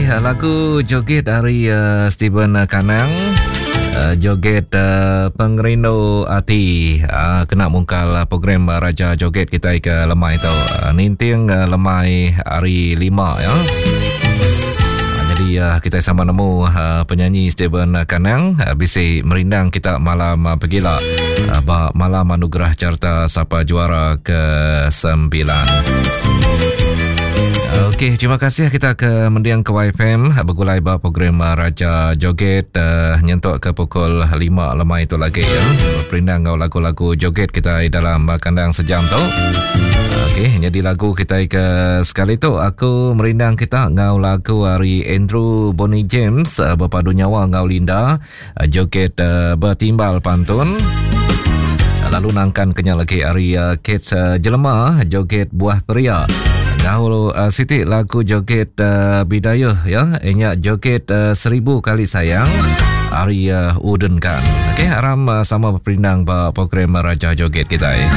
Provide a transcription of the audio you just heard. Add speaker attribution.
Speaker 1: Okey, lagu joget dari uh, Steven Kanang. Uh, joget uh, pengerindu ati uh, kena mungkal program Raja Joget kita ke lemai tu. Uh, ninting uh, lemai hari lima ya. Jadi uh, kita sama nemu uh, penyanyi Steven Kanang uh, bisi merindang kita malam uh, pegila uh, ba malam anugerah carta sapa juara ke sembilan. Okey, terima kasih kita ke mendiang ke YFM begulai ba program Raja Joget uh, nyentuk ke pukul 5 lemai itu lagi ya. Perindang ngau lagu-lagu joget kita dalam kandang sejam tu. Okey, jadi lagu kita ke sekali tu aku merindang kita ngau lagu hari Andrew Bonnie James uh, berpadu nyawa ngau Linda uh, joget uh, bertimbal pantun. Lalu nangkan kenyal lagi hari uh, Kate uh, Jelema joget buah peria. Ngau uh, siti lagu joget uh, bidayuh ya, inya joget uh, seribu kali sayang hari uh, Uden kan. Okey, aram uh, sama berperindang ba program Raja Joget kita. Ya.